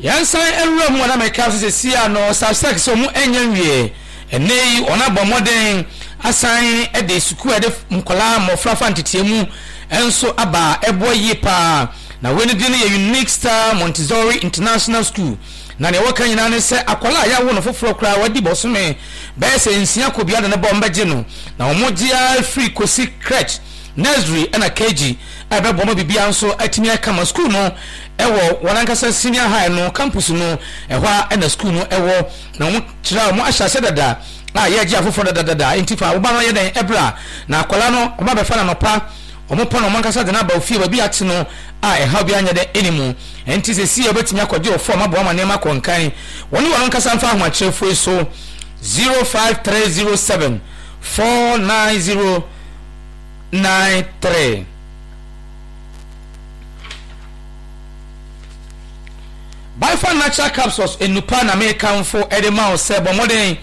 Yɛnsan nwura mu a na meka so seesei a no Substack sɛ wɔn ɛnyɛ nwie. Ɛnnɛ yi wɔn abɔ mmɔden asan de sukuu a yɛde nkwadaa mmɔfra fa nteteɛ mu nso aba a ɛboa yie paa. Na wei no din no yɛ Unique Star Montessori International School. Na nea wɔka nyinaa ne sɛ akwadaa a yɛawo no foforɔ koraa wadi bɔsome bɛyɛ sɛ nsia kɔ biara de ne bɔ wɔbɛgye no. Na wɔgye ara firi kɔsi crèche, nursery ɛna KG a ɛbɛboa ma biribiara nso atumi ayɛ kama. Sukuu no wɔ wɔn ankasa senior high no campus no, ɛhɔ ara na sukuu no wɔ. Na wɔn kyerɛ a wɔn ahyɛ ase dada a yɛregye afoforɔ dadadada. Enti fa wo ba no yɛ dɛn bra na akwadaa no wɔn abɛfa no anɔpa, wɔn pɔn wɔn ankasa de no aba ofie baabi a ate no a ɛhaw biara nyɛ dɛn ɛni mu. Enti seesei wobɛtumi akɔgye wo fɔm aboa ma nneɛma akɔ nkan. Wɔne wɔn ankasa mfa ahomakyerɛfoɔ yi so 05307 490 93. Bifa Natural Capsules nnupa na mekamfo de ma wo sɛ bɔ mmɔden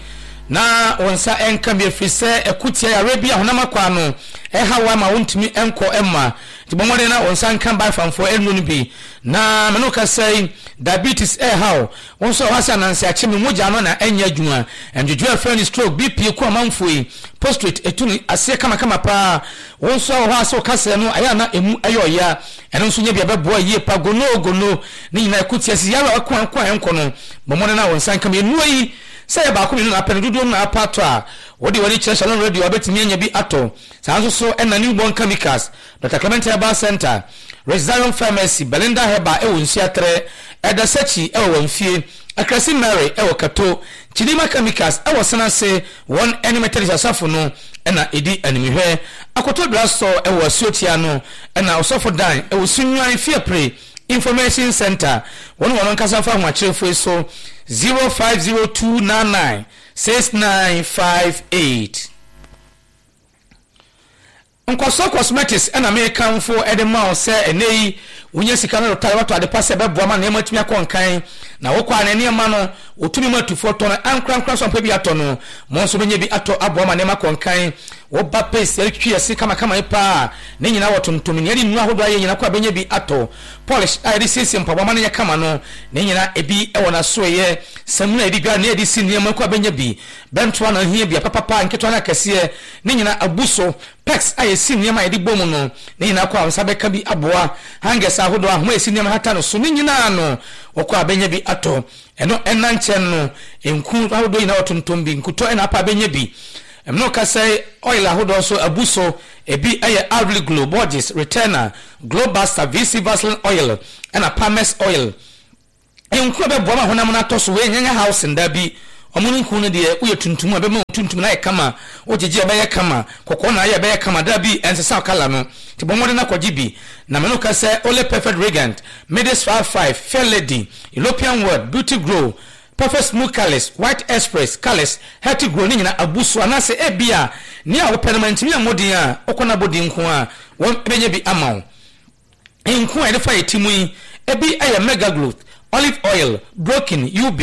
na wo nsa nka bi ɛfiri sɛ ɛko tia yareɛ bi a honam akwaa no ɛha wo ama wontumi nkɔ mma. Nti bɔ mmɔden na wo nsa nka Bifamfoɔ nnuro no bi. Na me ne wo kasa yi, diabetes ɛreha wo, wo nso ɛhɔ ase ananse akye me mogya no na ɛnyɛ adwuma, ndwodwo a ɛfrɛ no stroke, BP ku amanfoɔ yi, prostrate ɛtu no aseɛ kamakama paa, wo nso ɛwɔ hɔ a sɛ wo kasɛɛ no ayɛ a na ɛmu ɛyɛ ɔya, ɛno nso nyɛ bi a ɛbɛboa yie pa, gono o gono, ne nyinaa ɛko tia sisi yareɛ a ɛko a ɛko a ɛnkɔ no, bɔ mmɔden na wo nsa nka mmienu yi, sɛ ɛyɛ baako mmienu na apɛ no dodoɔ no na apɛ atɔ a, wode w'ani kyerɛ Shalom Radio a wobɛtumi anya bi atɔ, saa nso so ɛna Newborn Chemicals, Dɔkta Clement Herbal Centre, Rich Zion Pharmacy, Belinda Herbal wɔ Nsuaterɛ, Elder Sekyi wɔ Wamfie, Akrasi Mary wɔ Kato, Chidimma Chemicals wɔ Senase, wɔn ne Methodist Asafo no na ɛdi animhwɛ. Akoto Drug Store wɔ Asuotia no na Ɔsɔfo Dan wɔ Sunyuan Fiapre Information Centre. Wɔne wɔn ankasa mfa ahomakyerɛfoɔ yi so 050299 6958. Nkɔsoɔ Cosmetics na mekamfo de ma wo sɛ ɛnnɛ yi wonya sika no retare watɔ adepa sɛ ɛbɛboa ma nneɛma atumi akɔ nkan na wokɔ a na nneɛma no wotumi ma atufoɔ tɔ no ankorankora nso ampɛ bi atɔ no mo nso bɛnya bi atɔ aboa ma nneɛma akɔ nkan woba paste yɛde twitwi yɛse kamakama yi paa ne nyinaa wɔ tontom nea yɛde nnuro ahodoɔ ayɛ nyinaa kɔ a bɛnya bi atɔ polish a yɛde siesie mpaboa ma no yɛ kama no ne nyinaa ebi wɔ n'asoɛyɛ samina yɛde dware ne yɛde si nneɛma kɔ a bɛnya bi bɛntoa na ohia bi apapapa nketewa ne akɛseɛ Ne nyinaa abu so. Pegs a yɛsi nneɛma a yɛde bɔ mu no, ne nyinaa kɔ a wo nsa bɛka bi aboa. Hangers ahodoɔ, ahoma a yɛsi nneɛma hata no so, ne nyinaa no, wokɔ a bɛnya bi atɔ. Ɛno nna nkyɛn no, nku ahodoɔ nyinaa wɔtontɔn bi. Nkutɔ na apa a bɛnya bi. Ɛno kasa yi, oil ahodoɔ nso abu so. Ebi yɛ Alvely Glow, Borges, Returner, Glow Buster, VC Vaseline Oil, ɛna Palmer's Oil. Nku a ɛbɛboa ma honam no atɔ so wei nyɛ housing dabi ɔmo no nku no deɛ woyɛ tuntum a ɛbɛma wo tuntum no ayɛ kama wogyegye a ɛbɛyɛ kama kɔkɔɔ na ayɛ ɛbɛyɛ kama dabi ɛnsesa wo colour no nti bɔ mmɔden na kɔgye bi na me ne wo ka sɛ Ole Perfect Regant Midas 55 Fair Lady European World Beauty Grow Perfect Smooth Colours White Express Colours Healthy Grow ne nyinaa abu so anaasɛ ebia nea wopɛ no mantumi ammɔ din a wokɔ na bɔ din nko a wɔn bɛnya bi ama wo. Nku a yɛde fa yɛn ti mu yi, ebi yɛ Megaglute, olive oil, Broken, UB,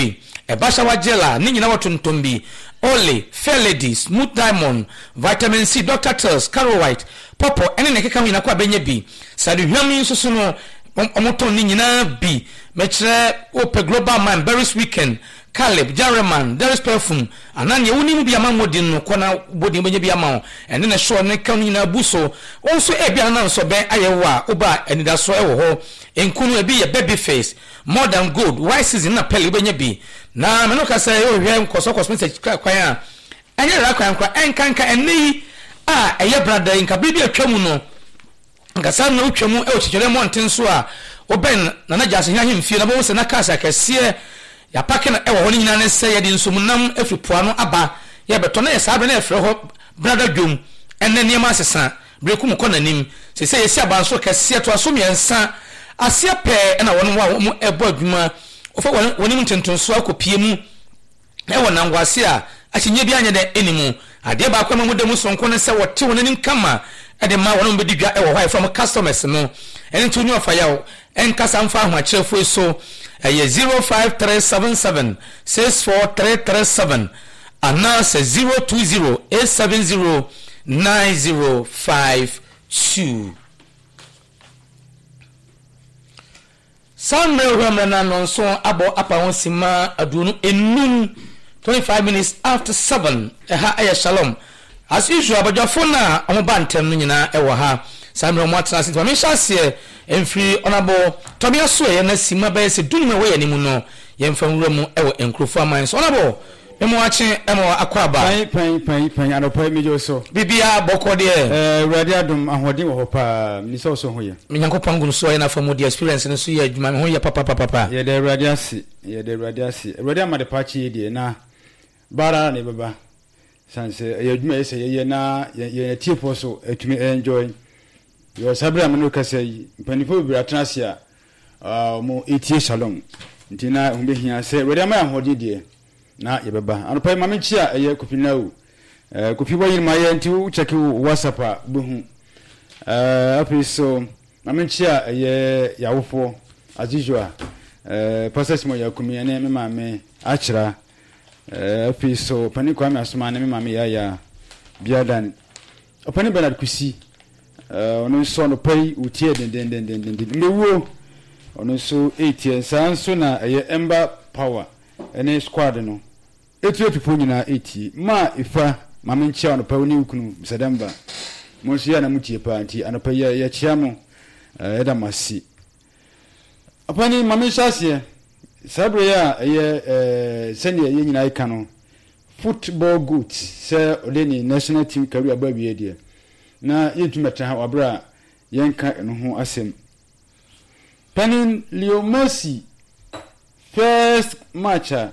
ɛba shower gel a ne nyinaa wɔ tontom bi, Olay, Fair Lady, Smooth Diamond, Vitamin C, Doctor Teal's, Caro White, Pawpaw ɛne nea ɛkeka ho nyinaa kɔ a bɛnya bi. Sradehuam yi nso so no, wɔtɔn ne nyinaa bi. Mekyerɛ wopɛ Global Man, Berries Weekend, Caleb, Jareman, Derris Perfume, anaa nea wonim no bi ama mmɔ din no, kɔ na bɔ din wobɛnya bi ama wo. Ɛne ne sure ne ka no nyinaa bu so. Wo nso ebia na nsɔbɛn ayɛ wo a, woba a anidasoɔ wɔ hɔ. Nku no ebi yɛ Baby Face, More Than Gold, White Season na Pearl wobɛnya bi. Na me ne wo kasa yi wohwehwɛ nkɔsoɔ cosmetics kwan a, ɛnyɛ rara kwan koraa, ɛnkanka ɛnnɛ yi a ɛyɛ brada yi, nka bere bi a atwa mu no, Anka saa mmerɛ wotwa mu wɔ Kyekyerɛ mmɔnten so a wobɛn Nana Gyasi Hene ahemfie no, wobɛhu sɛ na cars akɛseɛ yɛapake no wɔ hɔ. Ne nyinaa ne sɛ yɛde nsuomnam firi po ano aba yɛrebɛtɔ. Na yɛ saa berɛ na yɛfrɛ hɔ Brada Dwom. Ɛnnɛ nneɛma asesa, berɛ kum kɔ n'anim. Seesei yɛasi abansoro kɛseɛ toa so mmiɛnsa. Aseɛ pɛɛ na wɔn a wɔbɔ adwuma wɔfa wɔn anim ntentensoɔ akɔpue mu. Wɔ nanguase a akyinnye biara nyɛ dɛ nni mu. Adeɛ baako a ɛma wɔda mu soronko ne sɛ wɔte wɔn anim kama de ma wɔn a wɔbɛdi dwa wɔ hɔ a yɛfrɛ wɔn customers no. Ɛno nti wo ne ɔfayaw nkasa mfa ahomakyerɛfoɔ yi so. Ɛyɛ 05377 64337 anaasɛ 020 870 9052. Saa mmerɛ wura mmerɛ no a nnɔnson abɔ apa ho simma 25, 25 minutes after 7, ɛha yɛ Shalom. As usual, abadwafo no a wɔba ntɛm no nyinaa wɔ ha. Saa mmerɛ wɔn atena ase nti ma menhyɛ aseɛ mfiri Honourable Tɔme Asoɛeɛ na simma bɛyɛ sɛ dunum a ɛwɔ yɛn anim no yɛmfa nwura mu wɔ nkurɔfoɔ aman so. Honourable, me mo akye ma wo akɔ aba. Pɛn pɛn pɛn pɛn anɔpa yi megye wo so. Biribiara bɔkɔ deɛ. Ɛɛ Awurade adom ahoɔden wɔ hɔ paa menim sɛ wo so ho yɛ. Me Nyankopɔn gu so ayɛ n'afa mu deɛ experience no so yɛ adwuma me ho yɛ papapapapa. Yɛda Awurade ase yɛda Awurade ase Awurade ama adepa akye yi deɛ na ba ara na yɛbɛba sane sɛ ɛyɛ adwuma ɛyɛ sɛ yɛyɛ na yɛn atiefoɔ so atumi enjoy yɛwɔ saa berɛ a me ne wo kasa yi mpanimfoɔ bebree atena ase a wɔn etie shalom nti na ɛho bɛhia sɛ Awurade ama yɛn ahoɔden deɛ na yɛbɛba anɔpa yi ma me nkyia ɛyɛ Kofi Nau eh, Kofi wɔyere ma yɛ nti wo check wo WhatsApp a wobɛhu eh, afei so ma me nkyia ɛyɛ yawofoɔ as usual eh, Pastor Simon Yakumi ɛne me maame Akyera eh, afei so Ɔpanin Kwame Asoma ne me maame Yaya Biadan Ɔpanin Bernard Kusi eh, ɔno nso anɔpa yi ɔtie dendendendenden mbɛwuo ɔno nso ɛretie saa nso na ɛyɛ Ember Power ɛne squad no Atuatufoɔ nyinaa retie. Maa Efa, ma menkyea wo anɔpa yi, wo ne wo kunu, Mister Denver. Mo nso yɛ a na motie paa, nti anɔpa yi yɛkyea mo. Yɛda mo ase. Ɔpanin, ma menhyɛ aseɛ. Saa berɛ yi a ɛyɛ sɛdeɛ yɛn nyinaa reka no, football goat sɛ ɔde ne national team career aba awieɛ deɛ, na yɛntumi mmɛtena ha wɔ berɛ a yɛnka ɛno ho asɛm. Panin Leo Messi first match a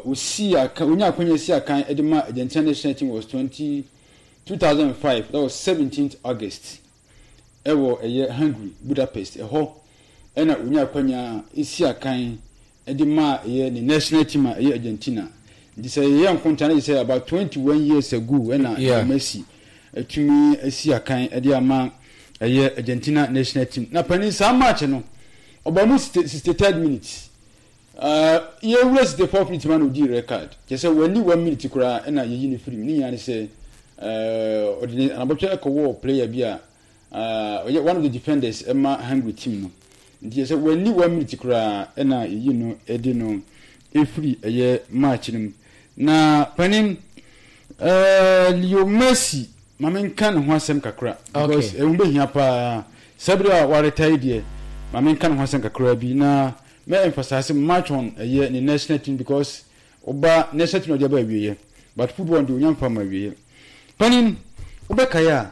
osii akan, onyaa akwanya si akan de ma Argentina national team was 20, 2005, that was 17th August, ɛwɔ ɛyɛ Hungary, Budapest, ɛhɔ ɛna onyaa akwanya si akan de maa ɛyɛ ne national team a ɛyɛ Argentina. Nti sɛ yɛyɛ nkonta no sɛ about 21 years ago ɛna yeah. Messi atumi asi akan de ama ɛyɛ Argentina national team. Na panin saa match no ɔba mu 63rd minute. Uh, yɛwura 64th minute ma na ɔdii red card. Kyerɛ sɛ wɔani 1 minute koraa ɛna yɛyi no firi mu. Ne nyinaa ne sɛ ɔde ne anabɔtwɛ ɛkɔwɔɔ player bi a Ɔyɛ one of the defenders ma Hungary team no. Nti sɛ wanni one minute koraa ɛna yɛyi no de no ɛfiri ɛyɛ match no mu. Na panin uh, Leo Messi ma menka ne ho asɛm kakra because ɛho bɛhia paa. Saa bere a waretae deɛ ma menka ne ho asɛm kakra bi na mɛ emphasize match on ɛyɛ ne national team because ɔba national team na ɔde aba awieɛ but football deɛ onya mfa ma awieɛ. Panin wobɛkae a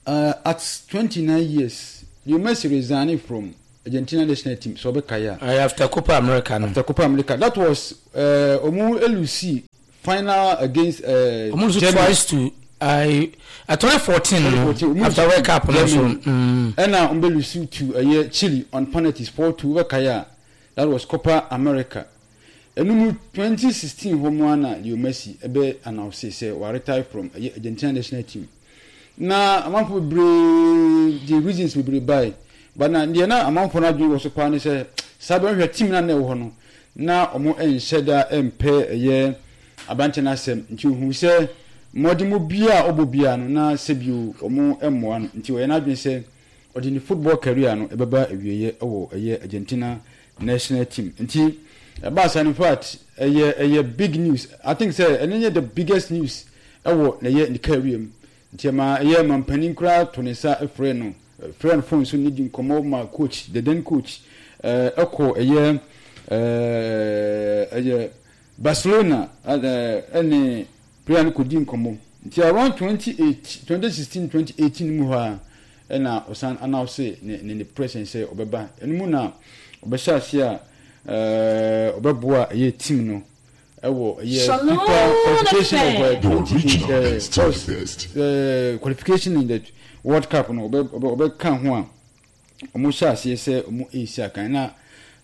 Uh, at 29 years, Leo Messi resigned from Argentina national team. So ɔbɛkae a. After Copa America no. After Copa America, that was ɔmo uh, elusi final against. Ɔmo uh, Germany. Twice to I 2014 no after World Cup no so. Ɛna ɔmo bɛ lusi to ɛyɛ Chile on penalties 4-2 ɔbɛkae a that was Copa America. Ɛno mu, 2016 hɔ mu ara na Leo Messi bɛ announce sɛ wa retire from ɛyɛ Argentina national team. Na amanfoɔ bebree de reasons bebree bae. But na deɛ na amanfoɔ no adwene wɔ so paa ne sɛ saa bɛ hwɛ team no a na ɛwɔ hɔ no, na wɔn nhyɛ da mpɛ ɛyɛ aberanteɛ no asɛm. Nti ohuu sɛ mmɔdemmɔ biara a ɔbɔ biara no na sɛbio wɔn mmoa no. Nti ɔyɛ n'adwene sɛ ɔde ne football career no ɛbɛba awieɛ wɔ ɛyɛ Argentina national team nti ɛbaa saa no infact ɛyɛ ɛyɛ big news I think sɛ ɛno nyɛ the biggest news ɛwɔ na ɛyɛ ne career mu nti ɛma ɛyɛ mampanin koraa to ne nsa frɛ no frɛ no phone so ne di nkɔmmɔ ma coach the then coach ɛkɔ ɛyɛ ɛyɛ Barcelona ɛne player no kɔdi nkɔmmɔ nti around 2018 2016 2018 mu hɔ a ɛna ɔsan announce ne ne ne presence sɛ ɔbɛba ɛno mu na ɔbɛhyɛ ase a ɛɛ ɔbɛboa ɛyɛ team no ɛwɔ ɛyɛ FIFA qualification of 20 ɛɛ qualification in the World Cup no ɔbɛ ɔbɛ ɔbɛka ho a wɔn hyɛ aseɛ sɛ wɔn resi akan na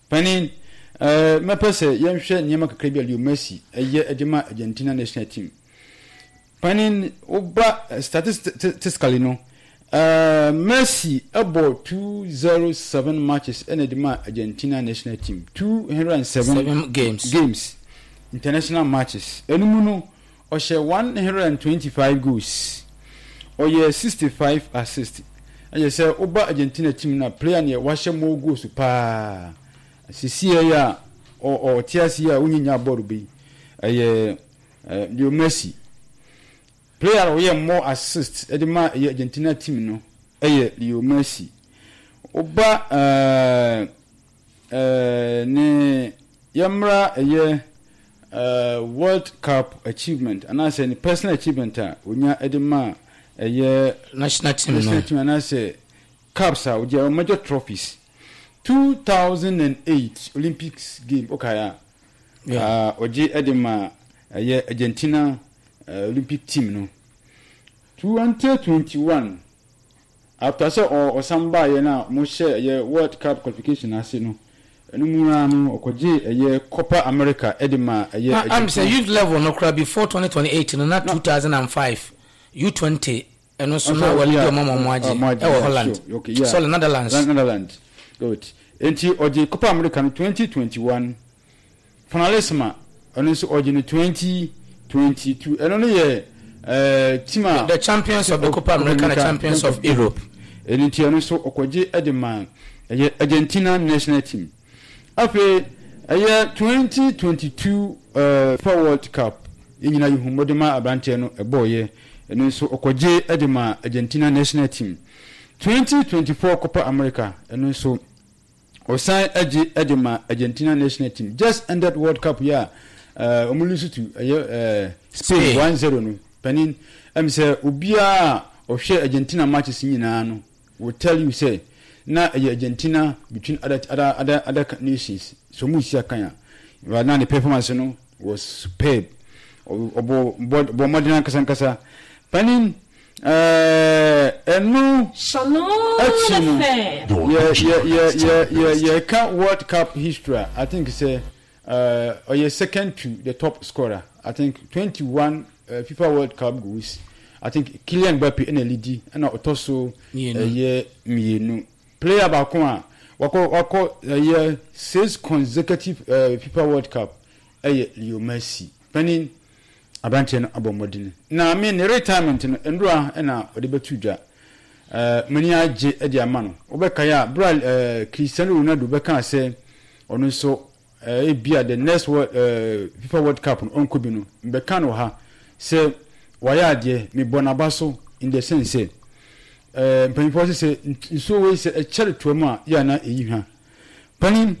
panin ɛɛ mɛpɛ sɛ yɛnhwɛ nneɛma kakra bi a Leo Messi ɛyɛ ɛde ma Argentina national team. Panin, woba statistically no, Messi bɔ 207 matches ɛna ɛde ma Argentina national team. 207 games. Games, international matches. Ɛno mu no, ɔhyɛ 125 goals, ɔyɛ 65 assists. Ɛyɛ sɛ woba Argentina team no a, player neɛ wahyɛ more goals paa sesie yi a ɔte ase yi a wonyi nya bɔɔl bi ɛyɛ Leo Messi. Player a ɔyɛ more assist de ma ɛyɛ Argentina team no ɛyɛ Leo Messi. Woba ne yɛmmra ɛyɛ World Cup achievement anaasɛ ne personal achievement a onya de ma ɛyɛ national team no, national team anaasɛ cups a ogye, major trophies. 2008 Olympics game, okay, a ɔgye de ma ɛyɛ Argentina Olympic team no. 2021, after sɛ ɔsan baeɛ no a wɔhyɛ ɛyɛ World Cup qualification ase no, ɛno mu ara no ɔkɔgye ɛyɛ Copa America de ma ɛyɛ Na am sɛ youth level no kora before 2028 no, na 2005 U20 ɛno nso na wɔde di ɔmo ama ɔmo agye ɛwɔ Holland, sorry, Netherlands. Netherlands, good. Nti ɔgye Copa America no 2021, Finalissima ɛno nso ɔgye no 2022. Ɛno no yɛ team a the champions of the Copa America and the champions of Europe. Ɛno nti ɛno nso ɔkɔgye de ma ɛyɛ Argentina national team. Afei ɛyɛ 2022 FIFA World Cup, yɛn nyinaa yɛhu mmɔden ma aberanteɛ no ɛbɔɔyɛ. Ɛno nso ɔkɔgye de ma Argentina national team. 2024 Copa America, ɛno nso ɔsan agye de ma Argentina national team. Just ended World Cup yi a wɔn lose to ɛyɛ Spain 1-0 no, panin, ɛm sɛ obiara a ɔhwɛ Argentina matches nyinaa no will tell you sɛ na ɛyɛ Argentina between other nations so wɔn si akan a, but na ne performance no was superb. Ɔbɔ bɔ mmɔden ankasa ankasa, panin. Ɛno akyi no, yɛ yɛ yɛ yɛ yɛ yɛka World Cup history a, I think sɛ ɔyɛ second to the top scorer. I think 21 FIFA World Cup goals. I think Kylian Mbappe ɛna leadi, ɛna ɔtɔ so ɛyɛ mmienu. Player baako a wakɔ ɛyɛ six consecutive FIFA World Cup ɛyɛ Leo Messi. Panin, aberanteɛ no abɔ mmɔden na me ne retirement no nnora na ɔde bɛto dwa. M'ani agye de ama no. Wobɛkae a, berɛ a Cristiano Ronaldo bɛkaa sɛ ɔno nso ebia the next world, FIFA World Cup no ɔnkɔ bi no, mbɛka no wɔ ha sɛ wayɛ adeɛ. Mebɔ n'aba so in the sense sɛ mpanyinfoɔ sɛ nsuo wei sɛ ɛkyɛre toa mu a, yɛ ana ɛyi hwa. Panin,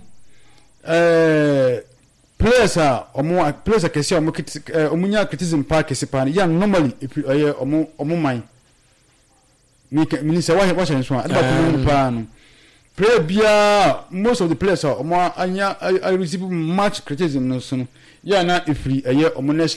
players a ɔmo players akɛse a ɔmo kete ɔmo nya criticism paa kɛse paa no yɛ normally efi ɛyɛ ɔmo man. Mika mini sɛ wahyɛ nso a ɛde baako mu paa no, player biara, most of the players a ɔmo anya a receive much criticism no so no, yɛ ana efiri ɛyɛ ɔmo national.